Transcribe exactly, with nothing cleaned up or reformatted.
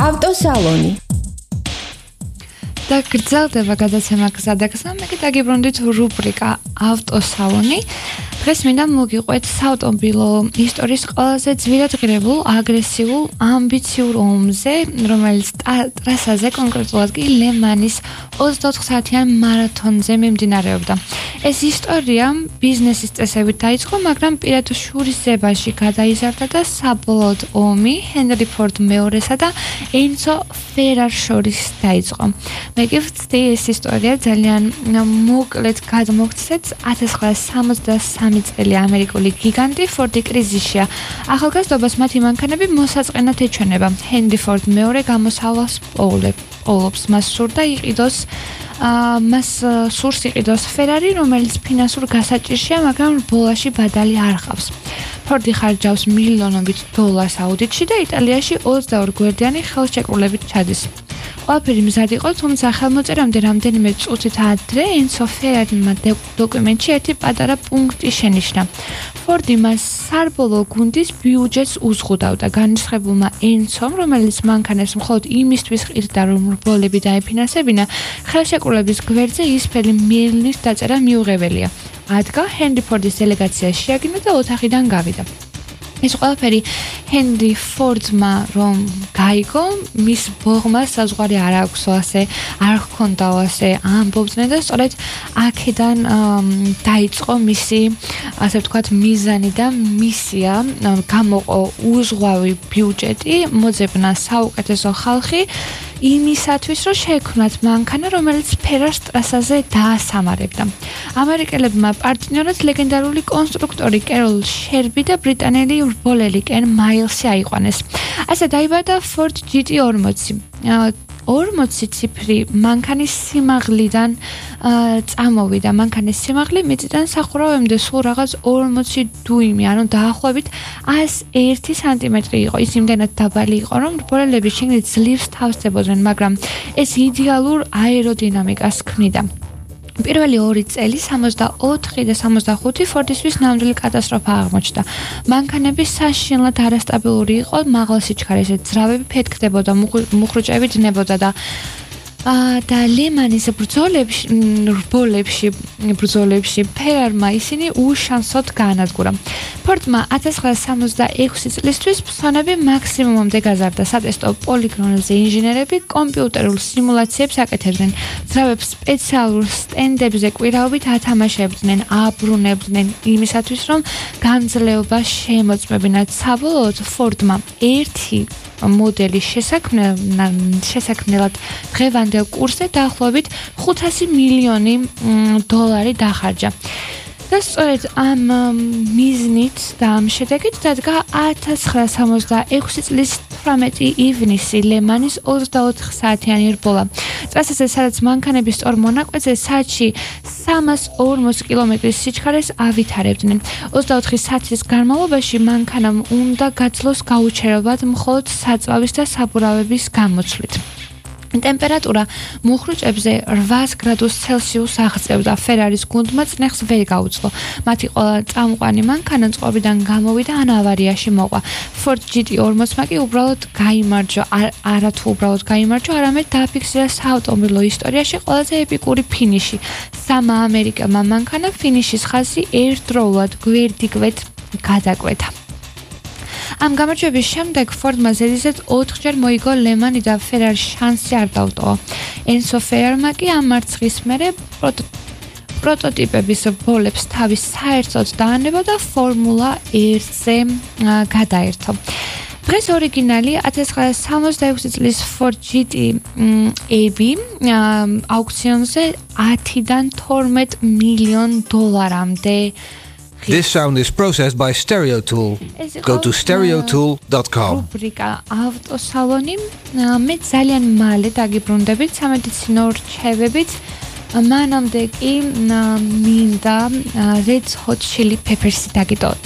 ავტოსალონი. და გრძელდება გადაცემა გზადაგზა, მე კი დაგიბრუნდით რუბრიკა ავტოსალონი. დღეს მინდა მოგიყვეთ საავტომობილო ისტორიის ყველაზე ძვირადღირებულ, აგრესიულ, ამბიციურ ომზე, რომელიც ტრასაზე, კონკრეტულად კი ლე-მანის ოცდაოთხ საათიან მარათონზე მიმდინარეობდა. ეს ისტორია ბიზნესის წესებით დაიწყო, მაგრამ პირად შურისძიებაში გადაიზარდა და საბოლოოდ ომი ჰენრი ფორდ მეორესა და ენცო ფერარ შორის დაიწყო. მე კი ვცდი ეს ისტორია ძალიან მოკლედ გადმოგცეთ. ათას ცხრაასი სამოცდასამი წელი ამერიკული გიგანტი ფორდი კრიზისშია. ახალგაზრდობას მათი მანქანები მოსაწყენად ეჩვენება. ჰენრი ფორდ მეორე გამოსავალს პოულობს. მას სურდა იყიდოს მას სურს იყიდოს ფერარი, რომელიც ფინანსურ გასაჭირშია, მაგრამ ბოლაში ბადალი არ ყავს. ფორდი ხარჯავს მილიონობით დოლარს აუდიტში და იტალიაში ოცდაორი გვერდიანი ხელშეკრულებით ჩადის. ყველაფერი მზად იყო, თუმცა ხელმოწერამდე რამდენიმე წუთით ადრე ენცო ფერარიმ დოკუმენტში ერთი პატარა პუნქტი შენიშნა. ფორდი მას საბოლოო გუნდის ბიუჯეტს უზღუდავდა. განრისხებულმა ენცომ, რომელიც მანქანას მხოლოდ იმისთვის ყიდდა, რომ რბოლები დაეფინანსებინა, ხელშეკრულების გვერდზე ისფერი მილნის დაწერა მიუღებელია. ადგა ჰენრი ფორდის დელეგაცია შეაგინა და ოთახიდან გავიდა. ეს ყველაფერი ჰენრი ფორდმა რომ გაიგო, მის ბოღმა საზღვარი არ აქვსო, ასე არ ჰქონდაო, ასე ამბობდნენ და სწორედ აქედან დაიწყო მისი, ასე ვთქვათ, მიზანი და მისია, გამოყო უზღვავი ბიუჯეტი, მოძებნა საუკეთესო ხალხი იმისათვის, რომ შეექმნათ მანქანა, რომელიც ფერარს ტრასაზე დაასამარებდა. ამერიკელებმა პარტნიორად ლეგენდარული კონსტრუქტორი კეროლ შერბი და ბრიტანელი რბოლელი კენ მაილსი აიყვანეს. ასე დაიბადა Ford ჯი ტი ორმოცი. ორმოცი ციფრი მანქანის სიმაღლიდან წამოვიდა. მანქანის სიმაღლე მიწიდან სახურავამდე სულ რაღაც ორმოცი დუიმი, ანუ დაახლოებით ასი ერთი სანტიმეტრი იყო. ის იმდენად დაბალი იყო, რომ რბოლელები შიგნით ძლივს თავსდებოდნენ, მაგრამ ეს იდეალურ აეროდინამიკას ქმნიდა. პირველი ორი წელი სამოცდაოთხი და სამოცდახუთი ფორდისთვის ნამდვილი კატასტროფა აღმოჩნდა. მანქანები საშინლად არასტაბილური იყო, მაღალ სიჩქარეზე ძრავები ფეთქდებოდა, მუხრუჭები დებოდა და და ლე-მანის ბრძოლებში, რბოლებში, ბრძოლებში ფერარმა ისინი უშანსოდ გაანადგურა. ფორდმა ათას ცხრაასი სამოცდაექვსი წლისთვის ფსონები მაქსიმუმამდე გაზარდა. სატესტო პოლიგონებზე ინჟინერები კომპიუტერულ სიმულაციებს აკეთებდნენ. ძრავებს სპეციალურ სტენდებზე კვირაობით ათამაშებდნენ, აბრუნებდნენ იმისათვის, რომ გამძლეობა შეემოწმებინათ. საბოლოოდ ფორდმა ერთი მოდელი შესაქმნელად დღევანდელ კურსზე დაახლოებით ხუთასი მილიონი დოლარი დახარჯა. და სწორედ ამ მიზნით და ამ შედეგით დადგა ათას ცხრაასი სამოცდაექვსი წლის თვრამეტი ივნისი ლე-მანის ოცდაოთხ საათიანი რბოლა. ტრასაზე, სადაც მანქანები სწორ მონაკვეთზე საათში სამას ორმოცი კილომეტრის სიჩქარეს ავითარებდნენ. ოცდაოთხი საათის განმავლობაში მანქანამ უნდა გაძლოს გაუჩერებლად მხოლოდ საწვავის და საბურავების გამოცვლით. ტემპერატურა მუხრუჭებზე რვას გრადუს ცელსიუსს აღწევდა. ფერარის გუნდმა წნეხს ვერ გაუძლო. მათი ყველა წამყვანი მანქანა წყობიდან გამოვიდა ან ავარიაში მოყვა. Ford ჯი ტი ორმოცმა კი უბრალოდ გაიმარჯვა, არა თუ უბრალოდ გაიმარჯვა, არამედ დააფიქსირა საავტომობილო ისტორიაში ყველაზე ეპიკური ფინიში. სამა ამერიკელმა მანქანა ფინიშის ხაზი ერთდროულად გვერდიგვერდ გადაკვეთა. ამ გამარჯვების შემდეგ ფორდმა ზედიზედ ოთხჯერ მოიგო ლე-მანი და ფერარის შანსი არ დაუტოვა. ენცო ფერარმა კი ამ მარცხის მერე პროტოტიპების ბოლებს თავის საერთოდ დაანება და ფორმულა ერთზე გადაერთო. დღეს ორიგინალი ათას ცხრაასი სამოცდაექვსი წლის Ford ჯი ტი ები აუქციონზე ათიდან თორმეტ მილიონ დოლარამდე. This sound is processed by Stereo Tool. Go to stereo tool dot com. რუბრიკა ავტოსალონი. მე ძალიან მალე დაგიბრუნდებით სამედიცინო რჩევებით. მანამდე კი მინდა Red Hot Chili Peppers-ი დაგიტოვოთ.